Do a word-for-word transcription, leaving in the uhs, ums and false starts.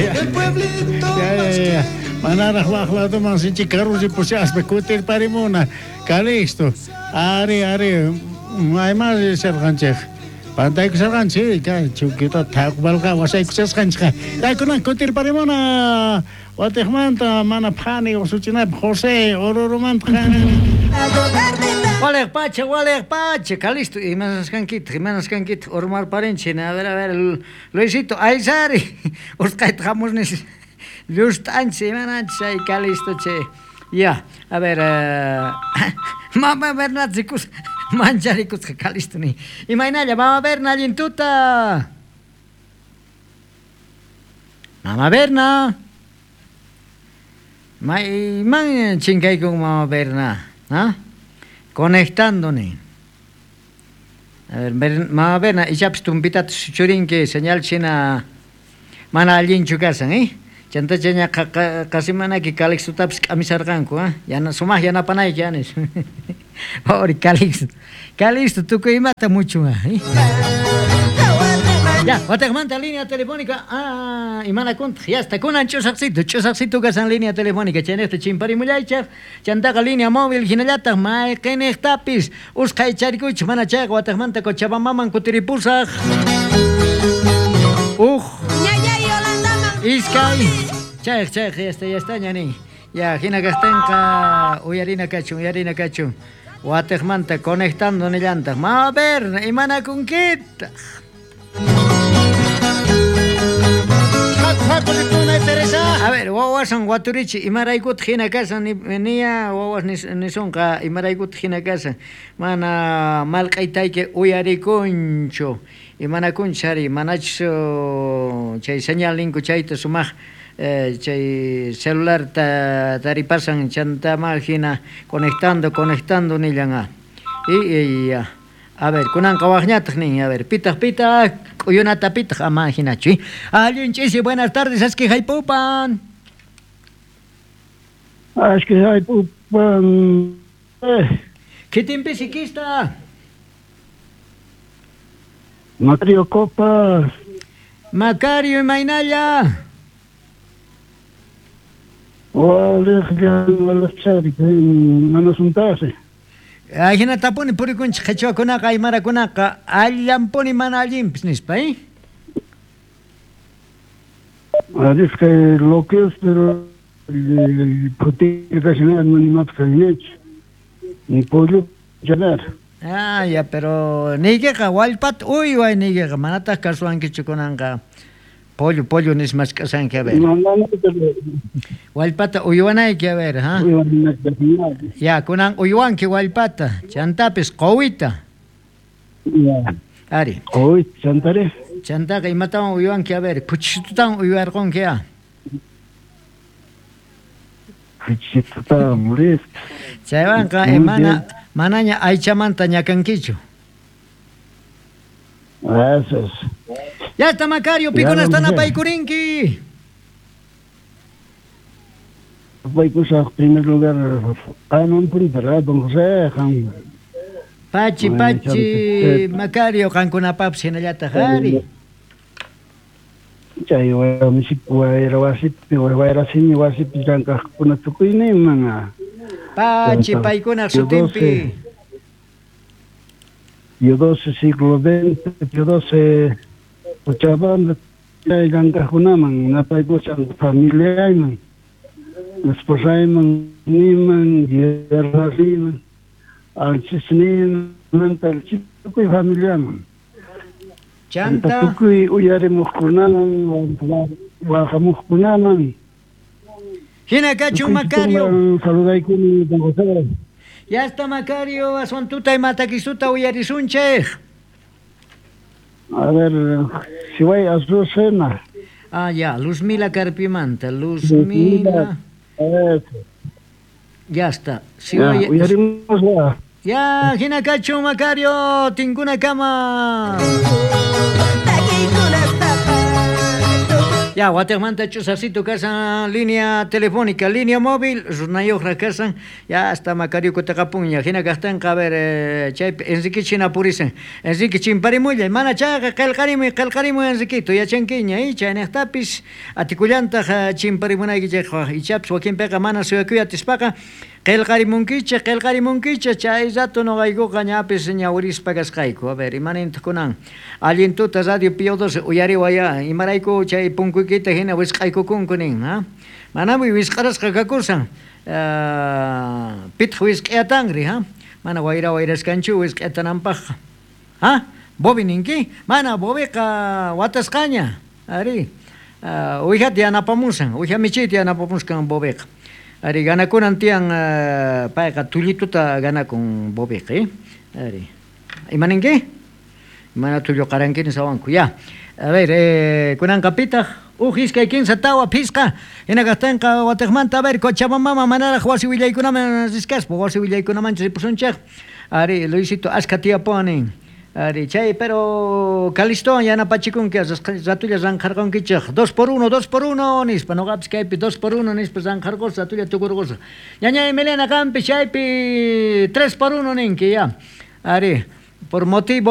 Ya, ya, ya. Manaraj waj ladoman sinchi karusi pushaspa kutirparimuna. Calixto. Ari, ari. Mayman risharqanchej. Pantaykusharqanchik, chukita thaqbalqa wasaykushasqanchikqa. Kunan kutirparimuna. Watejmanta mana phani usuchinapaq José Orurumanta. Waleq pacha, waleq pacha, Calixto, imanasqankitaq, imanasqankitaq, urmarparinchik, a ver, a ver, Luisito, aysari, usqhayta hamusnis, llust'anchis, imananchis, ay, Calixto, che. Ya, a ver, uh, mama Berna rikus, mancharikusqa Calixto ni. Imaynalla, mama Berna, allin tuta. Mama Berna. Mayman chinkaykun mama Berna, ¿ah? Conectando ni. A ver, ber, mama Berna, ichapis tumpitata churinki señal china mana allinchu kasan, eh? Chantachaña qasimanaki Calixtotapis k'amisarqanku, ¿ah? Yana sumaq yanapanayki anis. Pobre Calixto. Calixto tukuy imata muchu, ¿eh? Ya, watejmanta línea telefónica. Ah, imanakuntaq, ya está. Kunan ch'usaqsito, ch'usaqsito kasan línea telefónica. Chaynejta chimparimullaychaq, chantaqa línea móvil hinallataq mayqinejtapis usqhay charikuchik mana chayqa watejmanta Cochabambaman kutiripusaq. Uj. Iskay. Chayq, chayq, ya está, ya está, ñani. Ya, hina kaqtinqa uyarina kachun, uyarina kachun. Watejmanta conectando nillantaq. Ma ver, imanakunkitaq. A ver, wawasan waturichi, imaraykutaq hina kasan, niya wawas nisonqa imaraykutaq hina kasan. Mana malq'aytayki uyarikunchu, imanakunchis ari, manachus chay señal ninku chayta sumaq eh, chay celularta taripasan chantama hina conectando, conectando nillan. Y, y ya. A ver, kunanqa waqñataq nin, a ver, pitaq, pitaq, k'uyunata pitaq, ama hinachu. Allin ch'isi, buenas tardes, aski haypupan. Aski haypupan. Eh. Kitinpi sikista. Macario Copas. Macario imaynalla. Waliq walachari, manasuntasi. Ajinatapuni purikunchik qhichwakunaqa aymarakunaqa allanpuni mana allinpis nispa, ¿eh? Aris que lo que es pero ni pollo llenar. Ah, ya, pero niykiqa wallpata uyway niykiqa manataq kasuwankichu kunanqa. Pollo, pollo nismachk'asanki, a ver. No, no, no, pero... Wallpata uywanayki, a ver, ¿ah? Ya, kunan uywanki wallpata, chantapis quwita. Ya. Ari. Quwita, chantari. Chantaqa imatawan uywanki, a ver, puchitutawan uywarqunki, ya. Puchitutawan, listo. Chaywanqa, eh, mana, manaña aychamanta ñakankichu. Eso es. Ya está, Macario, pikunasta napaykurinki. Napaykusaq, primer lugar, qanunpuni, ¿verdad, don José? Pachi, pachi, Macario, qankunapapis hinallataq, ari. Chay wayra wasipi, wayrasimi wasipi llank'aqkuna tukuyninman. Pachi, paykunaq sutinpi. Pío doce, siglo veinte, Pío doce, Cochabamba, llank'aqkunaman, napaykushan familiayman, esposayman, niman, guerrariman, alchisniman, tukuy familiaman. Chanta. Tukuy uyarimuqkunaman, waqamuqkunaman. Hina kachun, Macario. Saludaykuni, don José. Ya está, Macario, aswan tuta imatakisuta uyarisunchej. A ver, si voy a Azucena. Ah, ya, Luzmila Carpimanta, Luzmila. Ya está. Si ya, voy a... Ya, ya, hina kachun, Macario, tinkuna kama. Ya, watiqmanta ch'usasito kashan línea telefónica, línea móvil, runayuqraq kashan, ya hasta Macario kutaqapunña, hina kaqtinqa, a ver, eh, chaypi Enrique china purisan. Enrique chimparimullay, mana chayqa qillqarimuy, qillqarimuy Enriquito, yachankiña, y chayniqtapis atikullantaq chimparimunaykichikqa, ichapis wakinpiqa mana suyakuy atispaqa qillqarimunkichik, qillqarimunkichik, chay rato noqaykuqa ñapis ñawirispa kasqayku. A ver, imanintaq kunan allin tuta Radio Pío doce uyariwaya, imarayku chay punkuykita hina wisq'aykukunku nin, ha? Manami wisq'arasqa kakusan, uh, pitaq wisq'ayatanri, ha? Mana wayra wayraskanchu wisq'ayatananpaqqa. Ha? Bobi ninki? Mana Bobiqa watasqaña, ari. Uh, uwijata yanapamusan, uwija michiyta yanapamuskan Bobiqa. Ari, ganakunan tiyan uh, payqa tullituta ganakun Bobiqa, eh? Ari. Imaninki? Mana tullu qarankini sawanku, ya. A ver, eh, kunanqa pitaq uj iskay kinsa tawa phisqa hina kaqtinqa watiqmanta, a ver, Cochabamba manaraq wasi willaykunaman riskaspa, wasi willaykunamanchu ripusunchik. Ari, Luisito askha tiyapuwan. Ari, chay, pero Calistowan yanapachikunki, ratulla ranqharqunkichik, dos por uno, dos por uno, nispa, noqapis kaypi dos por uno nispa ranqharqusqa, ratulla tukurqusqa. Ñañay Milena qampi chaypi tres por uno ninki, ya. Ari, por motivo